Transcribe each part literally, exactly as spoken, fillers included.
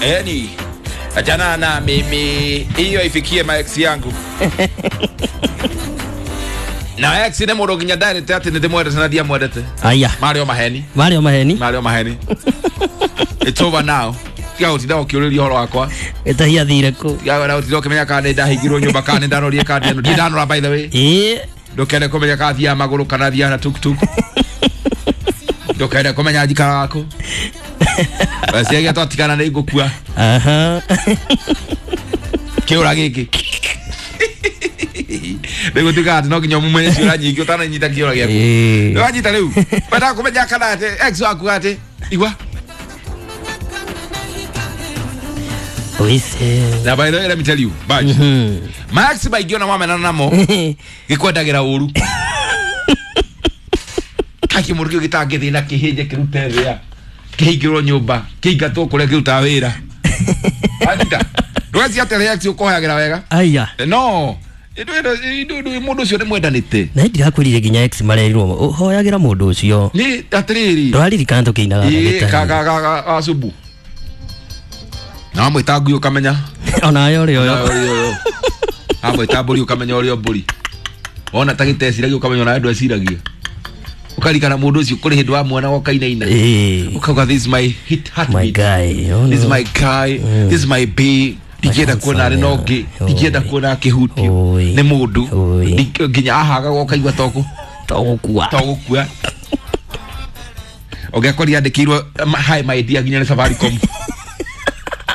Eni achana na mimi, hiyo ifikie maex yangu. Na ex nĩ mũndũ nginya ndarĩte atĩ nĩ ndĩmwendete na ndiamwendete. Aya. Marĩ o maheni. Marĩ o maheni. Marĩ o maheni. It's over now. Tiga gũtinda ũkĩũrĩria ũhoro wakwa. Gĩtahia thire kũ. Tiga gũtinda ũkĩmenya kana nĩ ndahingirwo nyũmba kana nĩ ndanorie kandi ĩno. Ndirĩ ndanora by the way. Ĩĩ. Ndũkende kũmenya kana thiaga magũrũ kana thiaga na tuktuk. Ndũkende kũmenya njikaraga kũ. Weciagia twatigana nĩ ngũkua. Aha. Kĩũra gĩkĩ. Nĩgũtuĩka atĩ no nginya ũmumenye ciũra nyingĩ ũtananyita kĩũra gĩaku. Ĩĩ. Nĩwanyita rĩu. Wendaga kũmenya kana atĩ ex waku atĩ igua. Oise. Na by the way, let me tell you, Badge. Mhm. Max maingĩ ona wamenana namo gĩkwendagĩra ũru. Kaki mũndũ kĩu gĩtangĩthiĩ na kĩhĩnje kĩrute thĩa. Kĩhingĩrwo nyũmba, kĩingatwo kũrĩa kĩrutaga wĩra. Wanyita. Ndũgeci atĩ ex ũkohagĩra wega. Aya. No. Mũndũ ũcio nĩ mwendanĩte. Na ndirakwĩrire nginya ex marerirwo ũhoyagĩra mũndũ ũcio. Nĩ atĩrĩrĩ. Ndũraririkana tũkĩinaga Ĩĩ, gĩtarĩ. ka ka ka ka asubu. Na wamwĩta ngui ũkamenya. Onayo ũrĩa ũyũ. Amwĩta mbũri ũkamenya ũrĩa mbũri. Wona ta gĩteciragia ũkamenya onawe ndweciragia. Ũkarikana mũndũ ũcio kũrĩ hĩndĩ wamuona ũkainaina. Ĩĩ. Ũkauga this is my hit My heartbeat. guy. Oh, This is no. my guy. This is my bae. Ndingĩenda kuona arĩ na ũngĩ. Ndingĩenda kuona akĩhutio Oi. nĩ mũndũ. Oi. Ndingĩ- Nginya ahagaga ũkaigua tokũ To gũkua. togũkua. Ũngĩakorire andĩkĩirwo hi my dear nginya nĩ Safaricom.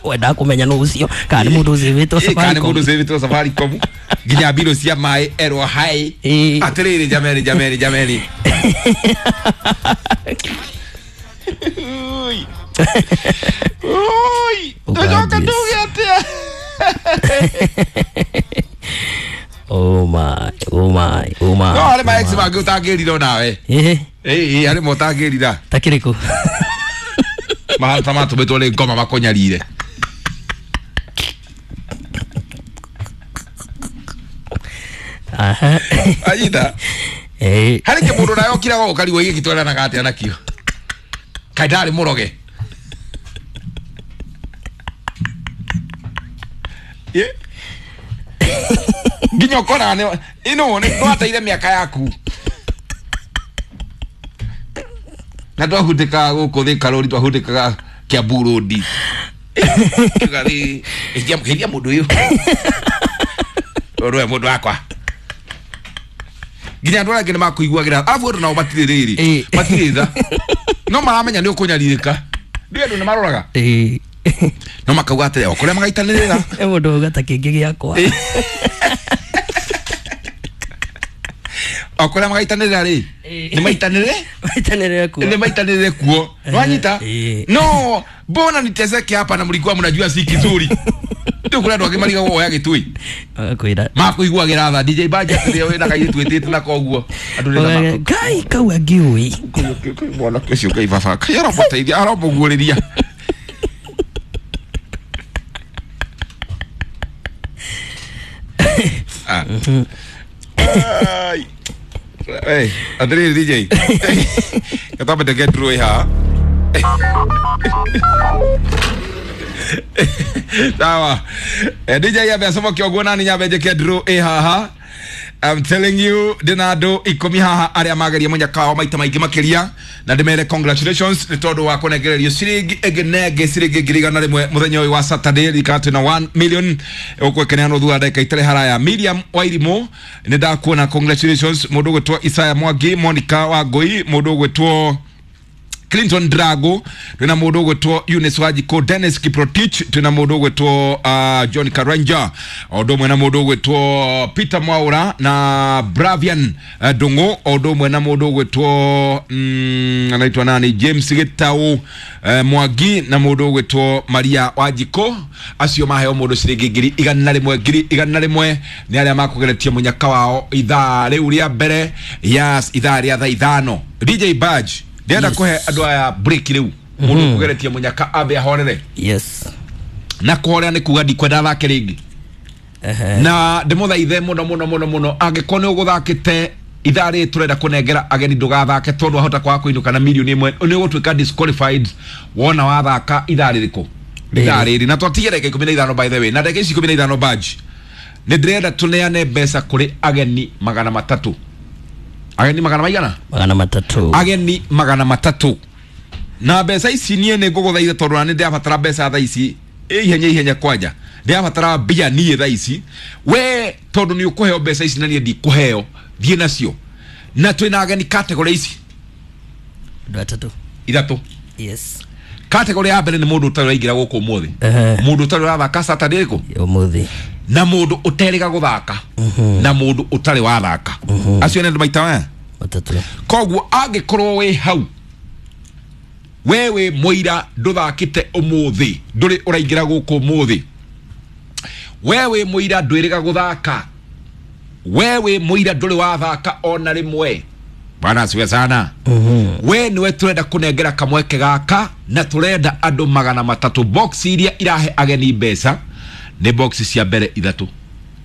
Wendaga kũmenya nũ ũcio kana nĩ mũndũ ũcĩvĩtwo Ĩ, kana nĩ Safaricom. mũndũ ũcĩvĩtwo Safaricom. Nginya mbirũ cia maĩ erwo hi. Ĩĩ. Atĩrĩrĩ jameni jameni jameni. Oi. Oi. Tũcoke Ũganjis. tuge atĩa? Oh my, oh my, oh my. No harĩ oh ma ex my. mangĩ ũtangĩrira onawe. Ĩĩ. Ĩ, ĩ, harĩ mo ũtangĩrira. Ta kĩrĩkũ? Mahana ta matũmĩtwo nĩ ngoma makũnyarire. Aha. Anyita. Ĩĩ. Harĩ kĩmũndũ nawe ũkiraga ũkarigwo gĩkĩ tweranaga atĩa nakĩo. Kaĩ ndarĩ mũroge. Ĩ. Nginya ũkoraga nĩ ĩno nĩ ndwateire mĩaka yaku. Na twahutĩkaga gũkũ Thika Road, twahutĩkaga Kiambu Road. Tũgathiĩ geithia mũndũ ũyũ. Ũyũ nĩwe mũndũ wakwa. Nginya andũ arĩa angĩ nĩ makũiguagĩra. Arabu andũ nao matirĩ rĩrĩ. Ĩĩ. Matirĩ tha. No maramenya nĩ ũkũnyarirĩka. Ndiũĩ andũ nĩ maroraga. Ĩĩ. No makauga atĩrĩ, o kũrĩa magaitanĩrĩra. He mũndũ auga ta kĩngĩ gĩakwa. O kũrĩa magaitanĩrĩra rĩ. Ĩĩ. Nĩ maitanĩrĩre? Maitanĩrĩre kuo. Nĩ maitanĩrĩre kuo. Wanyita? Ĩĩ. No, mbona niteseke hapa na mlikuwa mnajua si kizuri. Ndio kũrĩa andũ angĩ marigagwo oya gĩtui. Magakwĩra. Makũiguagĩra tha D J Badge atĩrĩ wĩna kairĩtu wĩtĩte nako ũguo. Andũ nĩ Ũgage, Ngai kau angĩũĩ. Mwanake ũcio Ngai baba. Kai aramũteithia, aramũguũrĩria. Ah. Ai. Hey, atĩrĩrĩ D J. Gatwambe tũke draw ĩ haha. Sawa. Eh, D J ambe acomoke ũguo nani nyambe njĩke draw ĩ haha. I'm telling you ndĩna andũ ikũmi haha arĩa mageria mũnyaka wao maita maingĩ makĩria na ndĩmere congratulations nĩ tondũ wa kũnengererio ciringi ĩngĩ na ĩngĩ ciringi ngiri igana rĩmwe mũthenya ũyũ wa Saturday ririkana twĩna one million ũgwekeneanwo thutha wa ndagĩka itarĩ haraya. Miriam Wairimũ nĩ ndakuona, congratulations. Mũndũ ũgwĩtwo Isaiah Mwangi, Monica Wangũi, mũndũ ũgwĩtwo Clinton Drago, twina mũndũ ũgwĩtwo Eunice Wanjikũ, Dennis Kiprotich, twina mũndũ ũgwĩtwo uh, John Karanja, o ũndũ ũmwe na mũndũ ũgwĩtwo Peter Mwaura na Bravian uh, Ndung'u, o ũndũ ũmwe na mũndũ ũgwĩtwo mm, anaitwa nani James Gitau uh, Mwangi na mũndũ ũgwĩtwo Maria Wanjikũ. Acio maheo mũndũ ciringi ngiri igana rĩmwe ngiri igana rĩmwe nĩ arĩa makũgeretie mũnyaka wao ithaa rĩu rĩa mbere ya ithaa rĩa thaa ithano. D J Badge ndĩrenda Yes. kũhe andũ aya break rĩu mũndũ ũkũgeretie mũnyaka ambe ahorere. Yes. Na kũhorera nĩ kuga ndikwenda athake rĩngĩ. Ehe. Na ndĩmũthaithe mũno mũno mũno mũno angĩkorwo nĩ ũgũthakĩte ithaa rĩrĩ tũrenda kũnengera ageni ndũgathake tondũ wahota kwaga kũinũka na mirioni ĩmwe nĩ ũgũtuĩka disqualified wona wathaka ithaa rĩrĩkũ. Rithaa rĩrĩ na twatigia ndagĩka ikũmi na ithano, by the way, na ndagĩka ici ikũmi na ithano badge nĩ ndĩrenda tũneane mbeca kũrĩ ageni magana matatũ. Ageni magana maigana? Magana matatũ. Ageni magana matatũ. Na mbeca ici niĩ nĩ ngũgũthaitha, tondũ na nĩ ndĩrabatara mbeca thaa ici ihenya ihenya, kwanja ndĩrabatara mbia niĩ thaa ici. We tondũ nĩ ũkũheo mbeca ici na niĩ ndikũheo, thiĩ nacio. Na twĩna ageni category ici Andũ atatũ. Ithatũ. Yes. Category ya mbere nĩ mũndũ ũtarĩ ũraingĩra gũkũ ũmũthĩ, Ehe. mũndũ ũtarĩ ũrathaka Saturday ĩrĩkũ, Ũmũthĩ. na mũndũ ũterĩga gũthaka, na mũndũ ũtarĩ wathaka. Acio nĩ andũ maita maya Matatũ. Koguo angĩkorwo wĩ hau, we wĩ mũira ndũthakĩte ũmũthĩ, ndũrĩ ũraingĩra gũkũ ũmũthĩ, we wĩ mũira ndwĩrĩga gũthaka, we wĩ mũira ndũrĩ wathaka ona rĩmwe, bwana asiwe sana, we niwe turenda kunengera kamweke gaka. Na turenda andũ magana matatũ. Box iria irahe ageni mbeca nĩ box cia mbere ithatũ.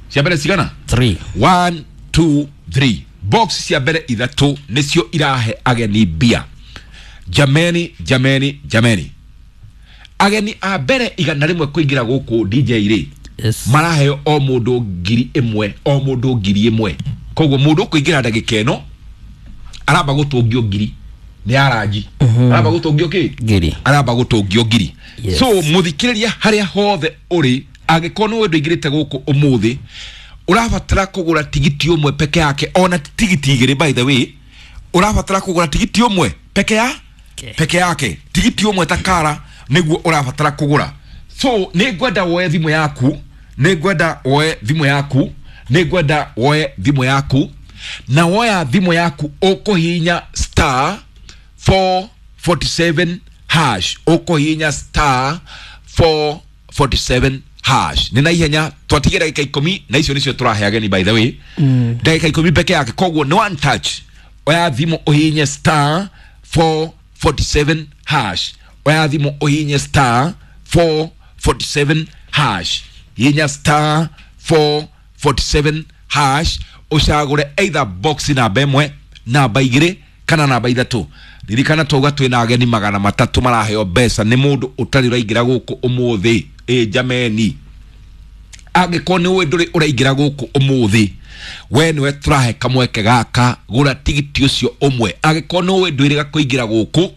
Cia mbere cigana? Three. One, two, three. Box cia mbere ithatũ nĩcio irahe ageni mbia. Jameni, jameni, jameni, ageni a mbere igana rĩmwe kũingĩra gũkũ, D J rĩ, Yes. maraheo o mũndũ ngiri ĩmwe, o mũndũ ngiri ĩmwe. Koguo mũndũ ũkũingĩra ndagĩka ĩno aramba gũtũngio ngiri nĩ aranji. Aramba gũtũngio kĩ? Ngiri. Aramba gũtũngio ngiri. Yes. So mũthikĩrĩria, harĩa hothe ũrĩ, angĩkorwo nĩ ũndũ ũingĩrĩte gũkũ ũmũthĩ, ũrabatara kũgũra tigiti ũmwe peke yake, ona ti tigiti igĩrĩ, by the way. Ũrabatara kũgũra tigiti ũmwe peke ya Okay. peke yake, tigiti ũmwe takara nĩguo ũrabatara kũgũra. So nĩ ngwenda woe thimũ yaku, nĩ ngwenda woe thimũ yaku, nĩ ngwenda woe thimũ yaku. Na woya thimũ yaku, ũkũhihinya star four forty-seven hash. Ũkũhihinya star four forty-seven hash. Nĩ na ihenya, twatigia ndagĩka ikũmi na icio nĩcio tũrahe ageni, by the way, ndagĩka ikũmi peke yake. Koguo nĩ one touch. Oya thimũ, ũhihinye star four forty-seven hash. Oya thimũ, ũhihinye star four forty-seven hash. Hihinya star four forty-seven hash, ũcagũre either box namba ĩmwe, namba igĩrĩ kana namba ithatũ. Ririkana twauga twĩna ageni magana matatũ maraheo mbeca nĩ mũndũ ũtarĩ ũraingĩra gũkũ ũmũthĩ. Ĩ jameni, angĩkorwo nĩ ũĩ ndũrĩ ũraingĩra gũkũ ũmũthĩ, we nĩwe tũrahe kamweke gaka, gũra tigiti ũcio ũmwe. Angĩkorwo nĩ ũĩ ndwĩrĩga kũingĩra gũkũ,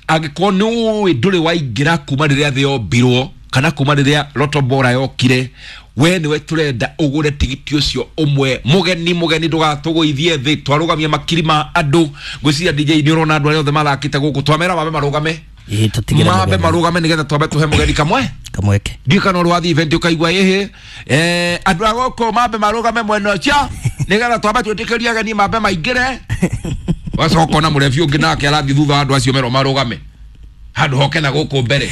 angĩkorwo nĩ ũĩ ndũrĩ waingĩra kuma rĩrĩa thĩ yombirwo kana kuma rĩrĩa Lotto Bora yokire, we nĩwe tũrenda ũgũre tigiti ũcio ũmwe. Mũgeni, mũgeni, ndũgatũgũithie thĩ. Twarũgamia makiri ma andũ. Ngwĩciria, D J, nĩ ũrona andũ arĩa othe mathakĩte gũkũ, twamera mambe marũgame. Ĩĩ, tũtigĩre mambe mũgeni. Marũgame nĩgetha twambe tũhe mũgeni kamwe Kamweke. Ndiũ kana ũrĩ wathiĩ event ũkaigua ĩhĩ, eh, andũ a gũkũ mambe marũgame mwena ũcio nĩgetha twambe twĩtĩkĩrie ageni mambe maingĩre. Wacoka ona mũrebi ũngĩ nake arathiĩ thutha wa andũ acio merwo marũgame handũ hoke na gũkũ mbere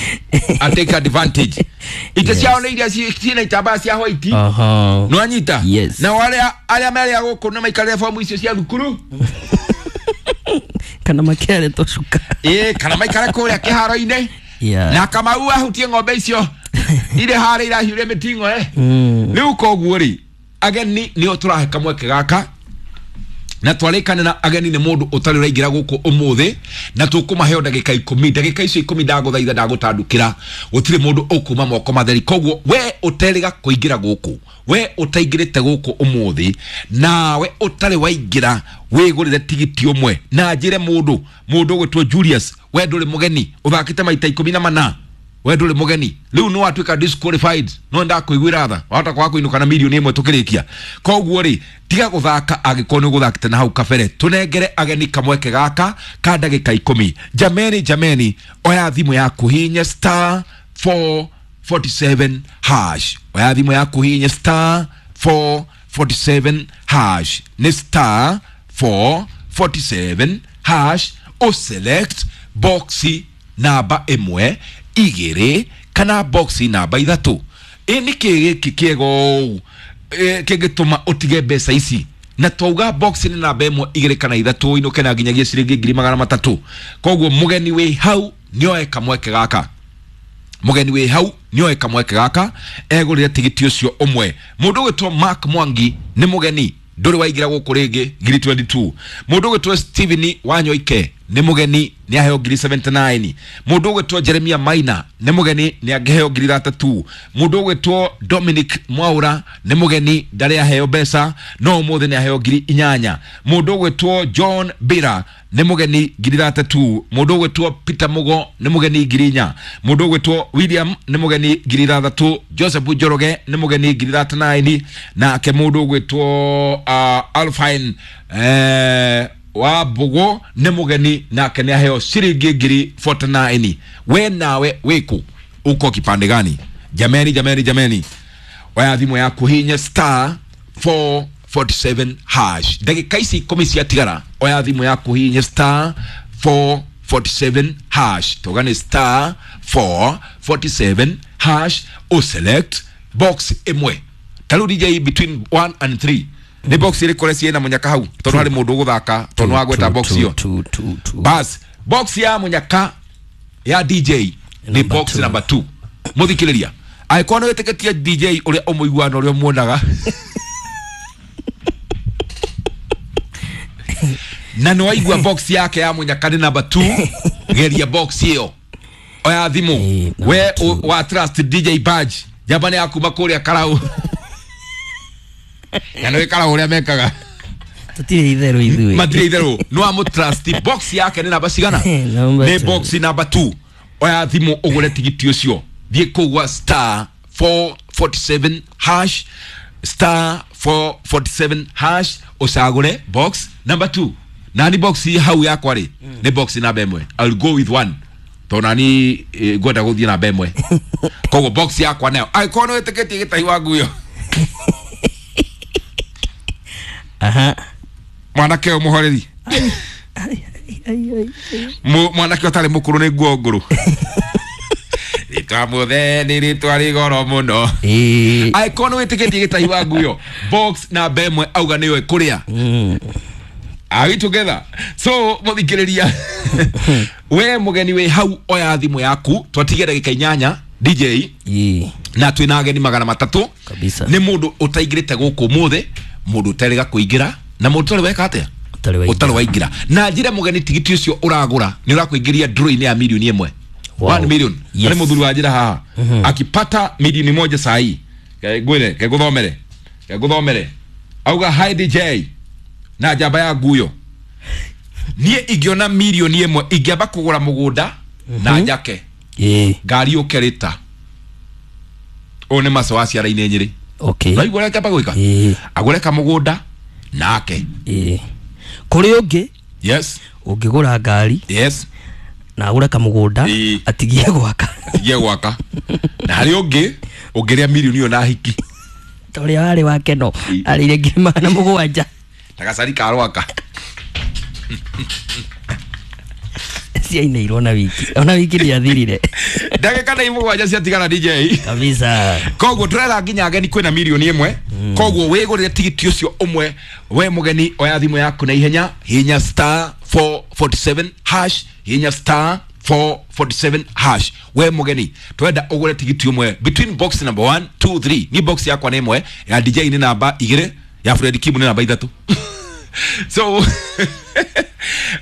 a take advantage. Ite Yes. ciao nĩ iria ci- ciĩna itambaya cia white. Aha. Nĩwanyita? Yes. Na arĩa arĩa merĩa gũkũ nĩ maikarĩre fomu icio cia thukuru. Kana makĩare tũcuka. Ĩĩ, kana maikare kũrĩa kĩharo-inĩ Yeah. na Kamau ahutie ng'ombe icio irĩ harĩa irahiũria mĩting'o, eh. Mm. Rĩu koguo rĩ, ageni nĩo tũrahe kamweke gaka, na twarĩkanĩra ageni nĩ mũndũ ũtarĩ ũraingĩra gũkũ ũmũthĩ, na tũkũmaheo ndagĩka ikũmi. Ndagĩka icio ikũmi, ndagũthaitha, ndagũtandũkĩra, gũtirĩ mũndũ ũkuma moko matheri. Koguo we ũterĩga kũingĩra gũkũ, we ũtaingĩrĩte gũkũ ũmũthĩ, nawe ũtarĩ waingĩra, wĩgũrĩre tigiti ũmwe. Na njĩre mũndũ mũndũ ũgwĩtwo Julius, we ndũrĩ mũgeni, ũthakĩte maita ikũmi na mana, we ndũrĩ mũgeni, rĩu nĩ watuĩka disqualified. No ndakũiguĩra tha, wahota kwaga kũinũka na mirioni ĩmwe tũkĩrĩkia. Koguo rĩ, tiga gũthaka angĩkorwo nĩ ũgũthakĩte na hau kabere. Tũnengere ageni kamweke gaka ka ndagĩka ikũmi. Jameni, jameni, oya thimũ yaku, hihinya star four forty-seven hash. Oya thimũ yaku, hihinya star four forty-seven hash. Nĩ star four forty-seven hash, ũselect boxi namba ĩmwe, igĩrĩ kana boxi namba ithatũ. Ĩ nĩ kĩ gĩkĩ kĩega ũũ, ĩ, kĩngĩtũma ũtige mbeca ici? Na twauga box nĩ namba ĩmwe, igĩrĩ kana ithatũ, inũke na nginyagia ciringi ngiri magana matatũ. Koguo mũgeni wĩ hau nĩoe kamweke gaka, mũgeni wĩ hau nĩoe kamweke gaka, egũrĩre tigiti ũcio ũmwe. Mũndũ ũgwĩtwo Mark Mwangi nĩ mũgeni, ndũrĩ waingĩra gũkũ rĩngĩ, ngiri mĩrongo ĩĩrĩ na igĩrĩ. Mũndũ ũgwĩtwo Steven Wanyoike nĩ mũgeni nĩ aheo ngiri seventy-nine. Mũndũ ũgwĩtwo Jeremia Maina nĩ mũgeni nĩ angĩheo ngiri thirty-two. Mũndũ ũgwĩtwo Dominic Mwaura nĩ mũgeni ndarĩ aheo mbeca no ũmũthĩ nĩ aheo ngiri inyanya. Mũndũ ũgwĩtwo John Bira nĩ mũgeni ngiri thirty-two. Mũndũ ũgwĩtwo Peter Mugo nĩ mũgeni ngiri inya. Mũndũ ũgwĩtwo William nĩ mũgeni ngiri ithathatũ. Joseph Njoroge nĩ mũgeni ngiri thirty-nine. Nake mũndũ ũgwĩtwo uh, Alfine eh, wa Mbugo nĩ mũgeni nake nĩ aheo ciringi ngiri forty-nine. We nawe wĩkũ uko kipande gani? Jameni, jameni, jameni, oya thimũ yaku hinya star four forty-seven hash. Ndagĩka ici ikũmi ciatigara, oya thimũ yaku hinya star four forty-seven hash. Toga nĩ star four forty-seven hash, o select box ĩmwe. Ta rĩu D J between one and three nĩ box ĩrĩkũ ũreciria ĩna mũnyaka hau? Tondũ harĩ mũndũ ũgũthaka, tondũ wagweta box ĩyo. Two, two, two. Bas, box ya mũnyaka ya D J nĩ Number box two. number two. Mũthikĩrĩria, angĩkorwo nĩ wĩtĩkĩtie D J ũrĩa ũmũiguaga na ũrĩa ũmuonaga na nĩ waigua box yake ya mũnyaka nĩ number two, geria box ĩyo. Oya thimũ. Eh, number We two. wa trust D J Badge njamba nĩ ya kuma kũrĩa Karau. Na nĩ Karau ũrĩa mekaga. Tũtirĩ itherũ ithuĩ. Matirĩ itherũ. Nĩ wa mũtrust box yake nĩ namba cigana? Number Nĩ two. box number two. Oya thimũ ũgũre tigiti ũcio. Thiĩ kũu gwa star four forty-seven hash, star four forty-seven hash, ũcagũre box number two. Nani box hau yakwa rĩ nĩ box namba ĩmwe. I'll go with one. Tondũ nani eh, ngwenda gũthiĩ namba ĩmwe. Koguo box yakwa nayo angĩkorwo nĩ wĩtĩkĩtie gĩtahi wa nguyo. Aha. Mwanake ũyũ mũhoreri. Ai, ai, ai, ai. Mu-, mwanake ũtarĩ mũkũrũ nĩ nguo ngũrũ. Rĩtwa mũthee nĩ rĩtwa rĩ goro mũno. Ĩĩ. Angĩkorwo nĩ wĩtĩkĩtie gĩtahi wa nguyo, box namba ĩmwe auga nĩyo ĩkũrĩa. Mm. Are we together? So mũthikĩrĩria, we mũgeni wĩ hau oya thimũ yaku, twatigia ndagĩka inyanya D J. Ĩĩ. Na twĩna ageni magana matatũ. Kabisa. Nĩ mũndũ ũtaingĩrĩte gũkũ ũmũthĩ, mũndũ ũterĩga kũingĩra, na mũndũ ũtarĩ weka atĩa? Ũtarĩ waingĩra. Ũtarĩ waingĩra. Na njĩre mũgeni tigiti ũcio ũragũra nĩ ũrakũingĩria draw-inĩ ya milioni ĩmwe. Wow. One million. Yes. Nĩ mũthuri wa njĩra haha. Akipata milioni moja saa hii. Ke ngwĩre, ke ngũthomere. Ke ngũthomere. Auga hi D J. Na njamba ya nguyo. Niĩ ingĩona milioni ĩmwe ingĩamba kũgũra mũgũnda na njake. Ĩĩ. Ngari yũke rĩta. Ũyũ nĩ maco wa ciara-inĩ Nyĩrĩ. Okay. Ũraigua ũrĩa akĩamba gwĩka? Ĩĩ. Agũre kamũgũnda nake. Ĩĩ. Kũrĩ ũngĩ Yes. ũngĩgũra ngari Yes. na agũre kamũgũnda Ĩĩ. atigie gwaka. Atigie gwaka. Na harĩ ũngĩ ũngĩrĩa milioni ĩyo na hiki. Ta ũrĩa warĩ wake no Ĩĩ. arĩire ngiri magana mũgwanja. Ta gacari ka rwaka. Ciainĩirwo na wiki. Ona wiki ndĩathirire. Ndagĩka nĩ mũgwanja ciatigara D J. Kabisa. Koguo tũrera nginya ageni kwĩna milioni ĩmwe. Koguo wĩgũrĩre tigiti ũcio ũmwe. We mũgeni oya thimũ yaku na ihenya, hinya star four forty-seven hash, hinya star four forty-seven hash. We mũgeni twenda ũgũre tigiti ũmwe between box number one, two, three. Ni box yakwa nĩ ĩmwe, ya D J nĩ namba igĩrĩ, ya Fred Kimu nĩ namba ithatũ. So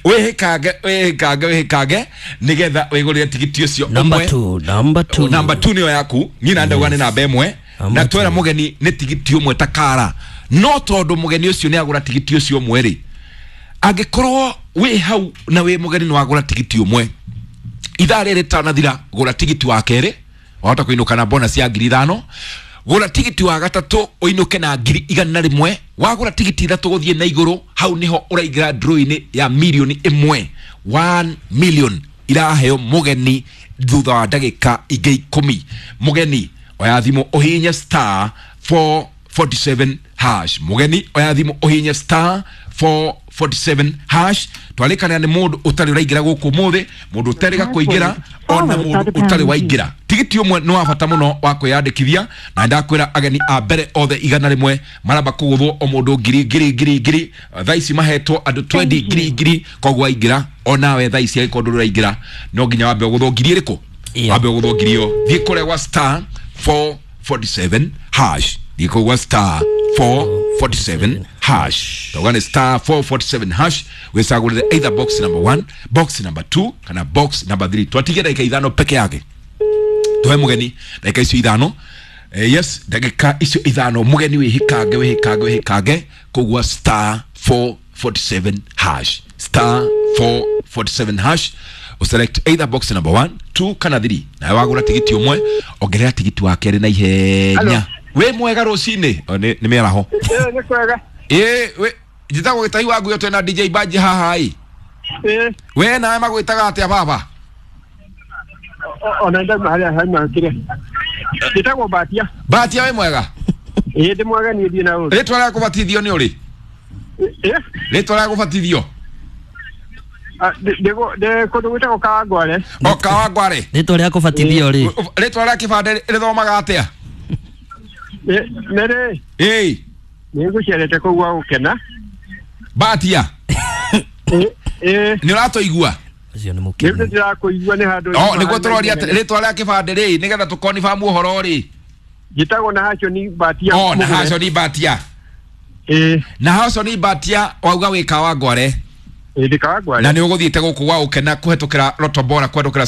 wĩhĩkange, wĩhĩkange, wĩhĩkange nĩgetha wĩgũrĩre tigiti ũcio Number ũmwe. two, number two. Number two nĩyo yaku. Niĩ na ndauga nĩ namba ĩmwe. Number Na twera two. mũgeni nĩ tigiti ũmwe ta kara. No tondũ mũgeni ũcio nĩ agũra tigiti ũcio ũmwe rĩ, angĩkorwo wĩ hau na wĩ mũgeni nĩ wagũra tigiti ũmwe, ithaa rĩrĩ rĩtanathira gũra tigiti wa kerĩ, wahota kũinũka na bonus ya ngiri ithano. Gũra tigiti wa gatatũ ũinũke na ngiri igana rĩmwe. Wagũra tigiti ithatũ gũthiĩ na igũrũ, hau nĩho ũraingĩra draw-inĩ ya milioni ĩmwe. One million iraheo mũgeni thutha wa ndagĩka ingĩ ikũmi. Mũgeni oya thimũ ũhihinye star four forty-seven hash. Mũgeni oya thimũ ũhihinye star four forty-seven hash. Twarĩkanĩra nĩ mũndũ ũtarĩ ũraingĩra gũkũ ũmũthĩ, mũndũ ũterĩga kũingĩra, ona mũndũ ũtarĩ waingĩra. Tigiti ũmwe nĩ wa bata mũno wa kwĩyandĩkithia, na ndakwĩra ageni a mbere othe igana rĩmwe maramba kũgũthwo o mũndũ ngiri, ngiri, ngiri, ngiri. Thaa ici mahetwo andũ twenty ngiri, ngiri. Koguo waingĩra onawe thaa ici angĩkorwo ndũrĩ ũraingĩra no nginya wambe ũgũthwo ngiri ĩrĩkũ? Ĩyo. Wambe ũgũthwo ngiri ĩyo. Thiĩ kũrĩa gwa star four forty-seven hash. Thiĩ kũu gwa star four four forty-seven hash. Tauga nĩ star four forty-seven hash, wĩcagũrĩre either box number one, box number two kana box number three. Twatigia ndagĩka ithano peke yake tuhe mũgeni, ndagĩka icio ithano. Eh, yes, ndagĩka icio ithano mũgeni wĩhĩkange, wĩhĩkange, wĩhĩkange. Koguo star four forty-seven hash, star four forty-seven hash, uselect either box number one, two kana three. Nawe wagũra tigiti ũmwe, ongerera tigiti wa kerĩ na ihenya. Wĩ mwega rũcinĩ? O, nĩ nĩ mĩaraho. Ĩĩ, nĩ kwega. Ĩ wĩ njĩtagwo Gĩtahi wa Nguyo, twĩna D J Baji haha ĩ. Ĩĩ. We nawe magwĩtaga atĩa, baba? o- ona ndauma harĩa hauma kĩrĩa njĩtagwo Batia. Batia, wĩ mwega? Ĩĩ, ndĩ mwega niĩ, thiĩ na ũru. Rĩtwa rĩa kũbatithio nĩ ũrĩ? Ĩĩ. Rĩtwa rĩa kũbatithio? Ah, ndĩ- ndĩ ndĩ kũndũ gwĩtagwo Kawangware. O Kawangware. Rĩtwa rĩa kũbatithio rĩ? Rĩtwa rĩa kĩbandĩ rĩthomaga atĩa? Nĩ rĩ? Ĩĩ. Nĩ ngũcerete kũu gwa gũkena. Batia. Ĩĩ, ĩĩ. Nĩ ũratũigua? Ũcio nĩ Nĩ mũkenu. ndĩrakũigua, nĩ handũ. O nĩguo tũroria atĩ rĩtwa rĩa kĩbandĩ rĩ, nĩgetha tũkonibamu ũhoro rĩ. Njĩtagwo na hacio ni Batia. O na Mũgũre. haco ni Batia. Ĩĩ. Na haco ni Batia, wauga wĩ Kawangware? Ĩĩ, ndĩ Kawangware. Na nĩ ũgũthiĩte gũkũ gwa gũkena kũhetũkĩra Lotto Bora, kũhetũkĩra